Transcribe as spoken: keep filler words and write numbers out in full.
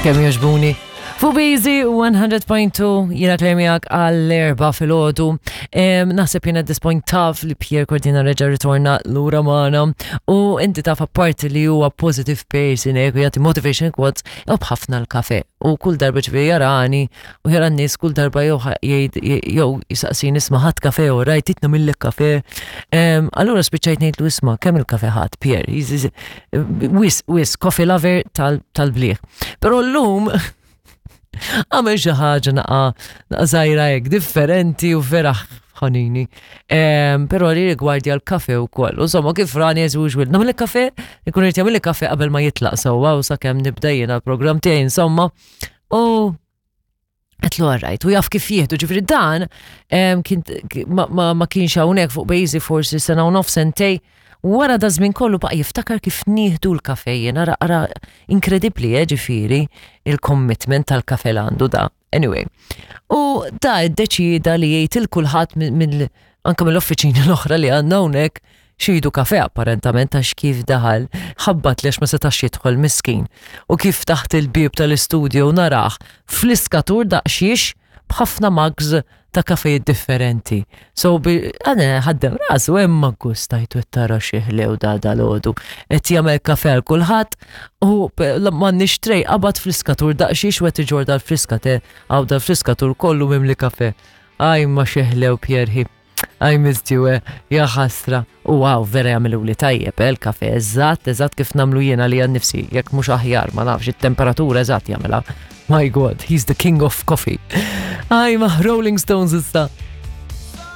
Kemm jogħġbuni. Fuq Easy one hundred point two, jiena Claire miegħek għall-erbgħa filgħodu. Naħseb jiena at this point taf li Pierre Cordina reġa ritorna lura magħna u inti taf, apparti li huwa positive person hekk u jagħti motivation quotes, jħobb ħafna l-kafe. U kull darba ġifieri jarani u jara n-nies, kull darba jew jgħid jew jisaqsini, "Isma', ħadt kafe u rajt nagħmillek kafe?" Allura spiċċajt ngħidlu, "Isma', kemm il-kafe ħadt, Pierre?" Wisq, wisq, coffee lover tal-bliħ. Però llum għamel xi ħaġa naqa naqa żgħira hekk differenti u vera ħanini. Però li rigwardja l-kafe u koll. U insomma, kif rani, as usual, nagħmel kafe, ikun irid jagħmel kafe qabel ma jitlaq sewwa u sakemm nibda jiena l-programm tiegħi, insomma. U għedtlu għarrajt, u jaf kif jieħdu, ġifieri dan ma, ma, ma kienx hawnhekk fuq Bejzi forsi sena u nofs, sentej, wara da żmien kollu baqa' jiftakar kif nieħdu l-kafe. Jena ara ara inkredibbli, eh, ġifieri il-commitment tal-kafe l għandu da. Anyway, u da iddeċida li jgħid il kulħadd mill anka mill-offiċini l-oħra li għandna hawnhekk xidu kafe, apparentament, għax kif daħal ħabbat li ma setax jidħol, miskin. U kif taħt il-bib tal-istudio narah fliskatur daqsxiex b'ħafna mugs ta' kafejiet differenti. So, għana ħaddem rasu, hemm gustajtu tara xieħlew da dal-ħodu. Et jagħmel kafe għal kulħadd u ma nixtrej qabad fliskatur daqsxiex u qed iġor dal-friska te għaw dal-friskatur kollu mimli kafe. Aj, ma xieħlew, Pierre. I missed you, eh, ja ħasra. U wow, vera jagħmlu li tajjeb, eh, il-kafe, eżatt, eżatt kif nagħmlu jiena li għan nifsi, jekk mhux aħjar, ma nafx, it-temperatura eżatt jagħmilha. My God, he's the king of coffee. Aj, ma Rolling Stones issa.